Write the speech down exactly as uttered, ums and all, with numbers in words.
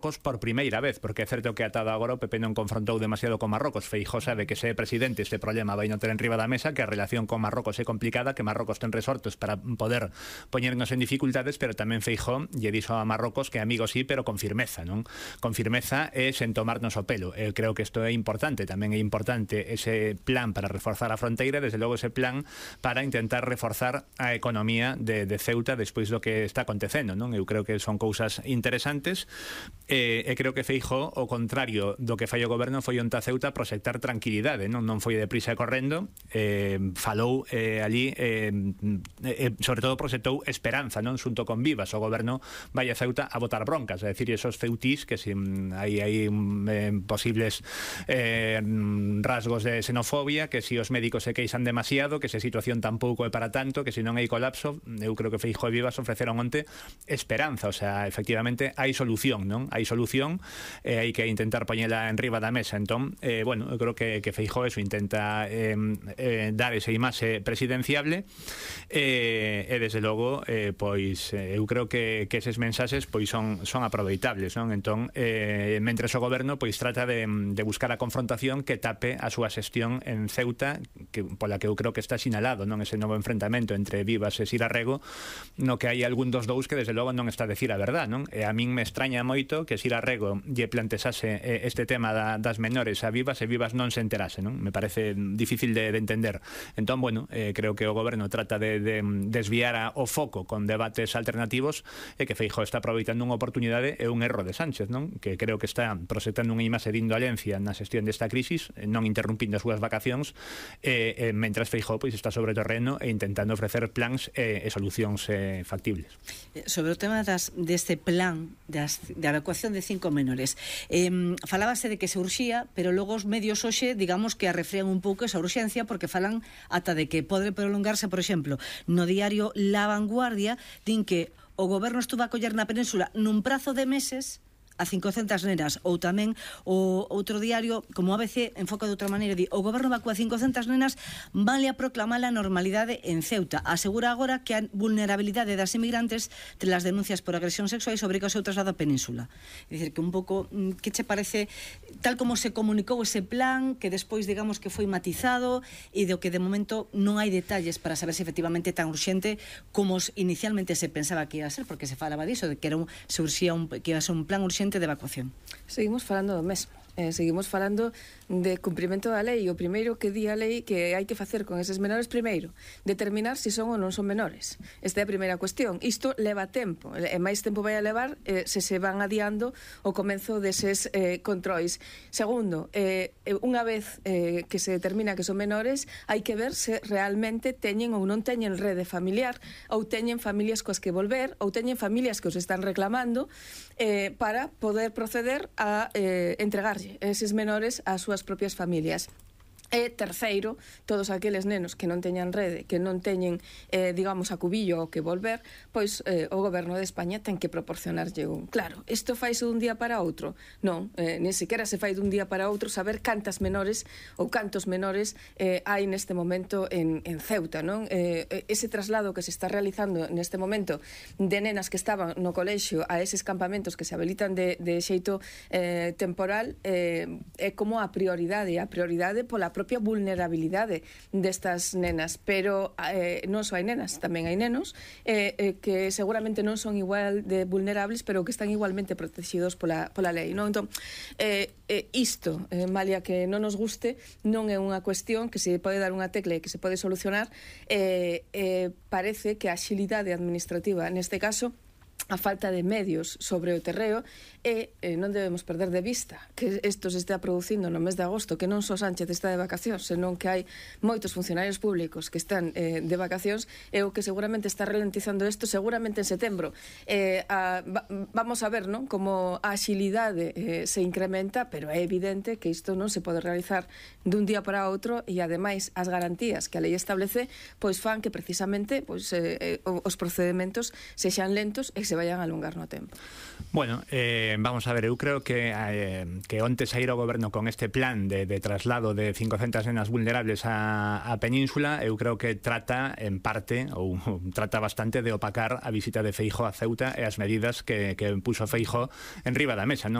por primeira vez, porque é certo que atado agora o P P non confrontou demasiado con Marrocos. Feijóo sabe que se é presidente este problema vai non ter enriba da mesa, que a relación con Marrocos é complicada, que Marrocos ten resortos para poder poñernos en dificultades, pero tamén Feijóo lle dixo a Marrocos que amigo sí, pero con firmeza, non? Con firmeza e sen tomarnos o pelo. Eu creo que isto é importante, tamén é importante ese plan para reforzar a fronteira, desde logo ese plan para intentar reforzar a economía de, de Ceuta despois do que está acontecendo, non? Eu creo que son cousas interesantes. E, e creo que Feijóo, ao contrario do que fai o goberno, foi onta Ceuta a proxectar tranquilidade, non non foi deprisa e correndo, eh, falou eh, ali, eh, eh, sobre todo proxectou esperanza, non xunto con Vivas. O goberno vai a Ceuta a botar broncas, é dicir, esos ceutís que si hai, hai eh, posibles eh, rasgos de xenofobia, que si os médicos se queixan demasiado, que se a situación tampouco é para tanto, que si non hai colapso. Eu creo que Feijóo e Vivas ofreceron onte esperanza, o sea, efectivamente hai solución, non? Hai solución, eh, hai que intentar poñela en riba da mesa. Entón, eh, bueno, eu creo que, que Feijóo eso intenta eh, eh, dar esa imaxe presidenciable, eh, e desde logo eh, pois eh, eu creo que, que eses mensaxes pois son, son aproveitables, non? Entón, eh, mentres o goberno pois trata de, de buscar a confrontación que tape a súa xestión en Ceuta, que, pola que eu creo que está sinalado, non? Ese novo enfrentamento entre Vivas e Sira Rego, no que hai algún dos dous que desde logo non está a decir a verdad, non? E a min me extraña moito que Sira Rego lle plantexase este tema da, das menores a Vivas e Vivas non se enterase, non? Me parece difícil de, de entender. Entón, bueno, eh, creo que o goberno trata de, de desviar a, o foco con debates alternativos, e que Feijóo está aproveitando unha oportunidade e un erro de Sánchez, non? Que creo que está proxectando unha imaxe de indolencia na xestión desta crisis, non interrumpindo as súas vacacións, e, e mentras Feijóo pois está sobre o terreno e intentando ofrecer plans e, e solucións eh, factibles. Sobre o tema das, deste plan das, de evacuación de cinco menores, eh, falábase de que se urxía, pero logo os medios hoxe, digamos que arrefrían un pouco esa urxencia, porque falan ata de que pode prolongarse, por exemplo, no diario La Vanguardia din que o goberno estuvo a coller na península nun prazo de meses a cincocentas nenas, ou tamén o outro diario, como A B C, enfoca de outra maneira, di, o goberno evacúa cincocentas nenas, vale a proclamar a normalidade en Ceuta. Asegura agora que a vulnerabilidade das inmigrantes tras as denuncias por agresión sexuais obriga o seu traslado á península. É dicir, que un pouco, que che parece, tal como se comunicou ese plan, que despois, digamos, que foi matizado, e do que de momento non hai detalles para saber se efectivamente é tan urxente como inicialmente se pensaba que ia a ser, porque se falaba diso, de que era un, se urxía un, que ia a ser un plan urxente de evacuación. Seguimos falando do mesmo. Eh, seguimos falando de cumprimento da lei. O primeiro que di a lei que hai que facer con eses menores, primeiro, determinar se son ou non son menores. Esta é a primeira cuestión. Isto leva tempo, e máis tempo vai a levar eh, se se van adiando o comenzo deses eh, controis. Segundo, eh, unha vez eh, que se determina que son menores, hai que ver se realmente teñen ou non teñen rede familiar, ou teñen familias coas que volver, ou teñen familias que os están reclamando, eh, para poder proceder a eh, entregarlle eses menores ás súas propias familias. E terceiro, todos aqueles nenos que non teñan rede, que non teñen, eh, digamos, acubillo ou que volver, pois eh, o goberno de España ten que proporcionarlle un. Claro, isto faise dun día para outro? Non, eh, ni sequera se fai dun día para outro saber cantas menores ou cantos menores eh, hai neste momento en, en Ceuta, non? Eh, ese traslado que se está realizando neste momento de nenas que estaban no colexio a eses campamentos que se habilitan de, de xeito eh, temporal eh, é como a prioridade, a prioridade pola propia vulnerabilidade destas nenas, pero eh, non só hai nenas, tamén hai nenos eh, eh, que seguramente non son igual de vulnerables, pero que están igualmente protegidos pola, pola lei, non? Entón, eh, eh, isto, eh, malia que non nos guste, non é unha cuestión que se pode dar unha tecla e que se pode solucionar. eh, eh, parece que a axilidade administrativa, neste caso, a falta de medios sobre o terreo, e eh, non debemos perder de vista que isto se está producindo no mes de agosto, que non só Sánchez está de vacacións, senón que hai moitos funcionarios públicos que están eh, de vacacións, e o que seguramente está ralentizando isto seguramente en setembro. Eh, a, va, vamos a ver, non, como a axilidade eh, se incrementa, pero é evidente que isto non se pode realizar dun día para outro, e ademais as garantías que a lei establece pois fan que precisamente pois, eh, os procedementos sexan lentos e se vayan a alongar no tempo. Bueno, eh, vamos a ver, eu creo que eh, que onte saíra o goberno con este plan de, de traslado de cincocentas nenas vulnerables a, a Península, eu creo que trata en parte, ou trata bastante de opacar a visita de Feijóo a Ceuta e as medidas que, que puso Feijóo en riba da mesa, non?